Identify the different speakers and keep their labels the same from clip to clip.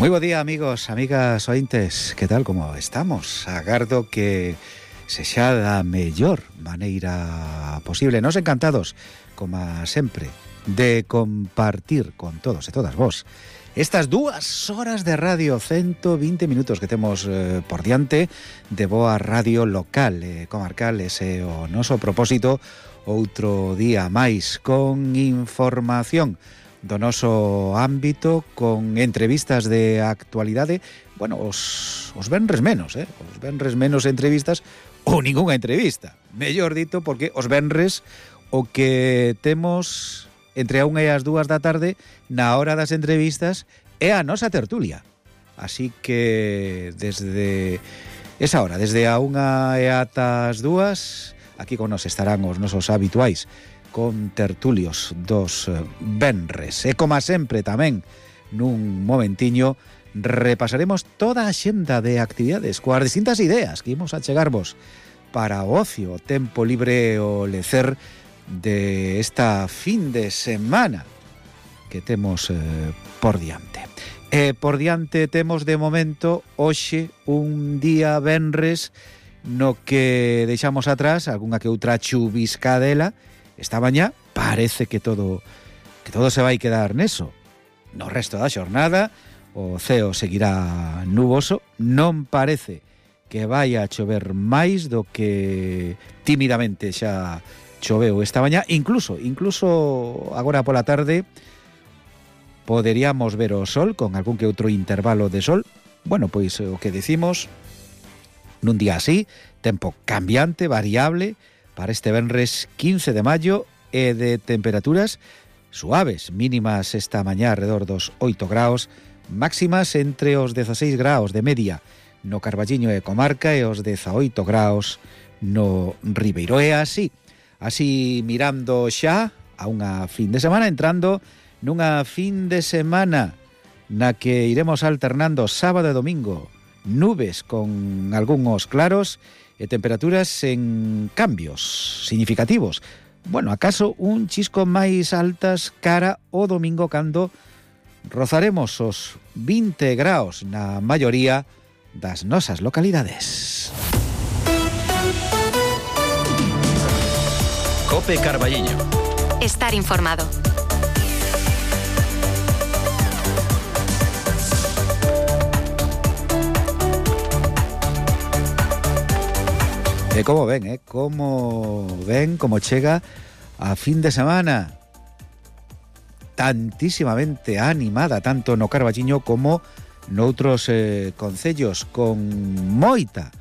Speaker 1: Moi bo día, amigos, amigas ointes. Que tal, como estamos? Agardo que sexa da mellor maneira posible. Nos encantados, como sempre, de compartir con todos e todas vos estas 2 horas de radio, 120 minutos que temos por diante de boa radio local e comarcal. Ese o noso propósito, outro día máis con información do noso ámbito, con entrevistas de actualidade. Bueno, os venres menos, os venres menos entrevistas ou ningunha entrevista, mellor dito, porque os venres o que temos entre a 1 e as 2 da tarde na hora das entrevistas é a nosa tertulia. Así que desde esa hora, desde a 1 e ata as 2, aquí con nos estarán os nosos habituais con tertulios dos venres. E como sempre tamén, nun momentiño, repasaremos toda a xenda de actividades coas distintas ideas que imos a chegarvos para o ocio, o tempo libre, o lecer de esta fin de semana que temos por diante. Por diante temos de momento hoxe un día venres no que deixamos atrás algunha que outra chubiscadela. Esta mañá parece que todo se vai quedar neso. No resto da xornada o ceo seguirá nuboso. Non parece que vai a chover máis do que tímidamente xa choveu esta mañá. Incluso agora pola tarde poderíamos ver o sol con algún que outro intervalo de sol. Bueno, pois o que decimos, nun día así, tempo cambiante, variable, para este venres 15 de maio e de temperaturas suaves, mínimas esta mañá alrededor dos 8 graus, máximas entre os 16 graus de media no Carballiño e comarca e os 18 graus no Ribeiro. É así mirando xa a unha fin de semana, entrando nunha fin de semana na que iremos alternando sábado e domingo nubes con algúns claros e temperaturas en cambios significativos. Bueno, acaso un chisco máis altas cara o domingo cando rozaremos os 20 graus na maioría das nosas localidades.
Speaker 2: Cope Carballiño.
Speaker 3: Estar informado.
Speaker 1: E como ven, como chega a fin de semana tantísimamente animada, tanto no Carballiño como noutros concellos, con moita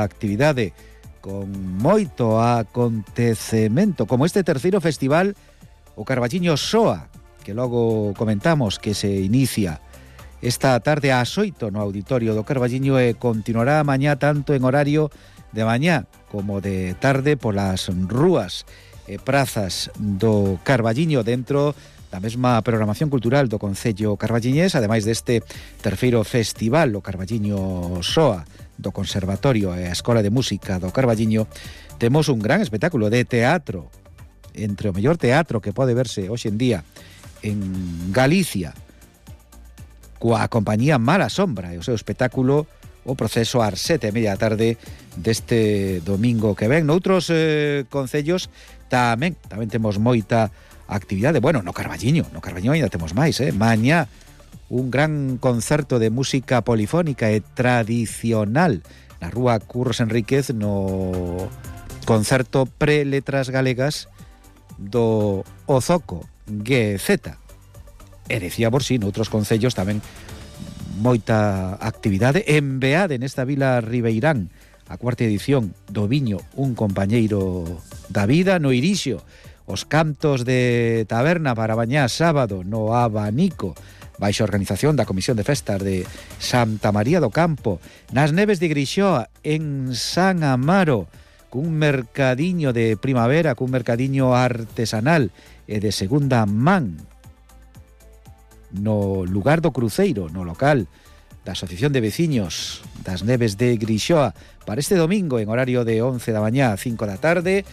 Speaker 1: actividade, con moito acontecemento, como este terceiro festival, o Carballiño Soa, que logo comentamos que se inicia esta tarde ás 8 no auditorio do Carballiño e continuará mañá tanto en horario de mañá como de tarde polas rúas e prazas do Carballiño dentro da mesma programación cultural do Concello Carballiñés, ademais deste terceiro festival, o Carballiño Soa, do Conservatorio e a Escola de Música do Carballiño. Temos un gran espectáculo de teatro, entre o mellor teatro que pode verse hoxe en día en Galicia, coa compañía Mala Sombra e o seu espectáculo O Proceso ás 7:30 da tarde deste domingo que ven. Noutros concellos tamén temos moita actividade. Bueno, no Carballiño ainda temos máis, Mañá un gran concerto de música polifónica e tradicional na Rúa Curros Enríquez, no concerto pre-letras galegas do Ozoco GZ. E decía por si, noutros concellos tamén moita actividade. En Beade, nesta vila ribeirán, a 4ª edición do Viño, un compañeiro da vida. No Irixio, os cantos de taberna para mañá sábado no Abanico, baixo organización da Comisión de Festas de Santa María do Campo. Nas Neves de Grixoa, en San Amaro, cun mercadiño de primavera, cun mercadiño artesanal e de segunda man, no lugar do Cruceiro, no local da Asociación de Veciños das Neves de Grixoa, para este domingo en horario de 11 da mañá a 5 da tarde.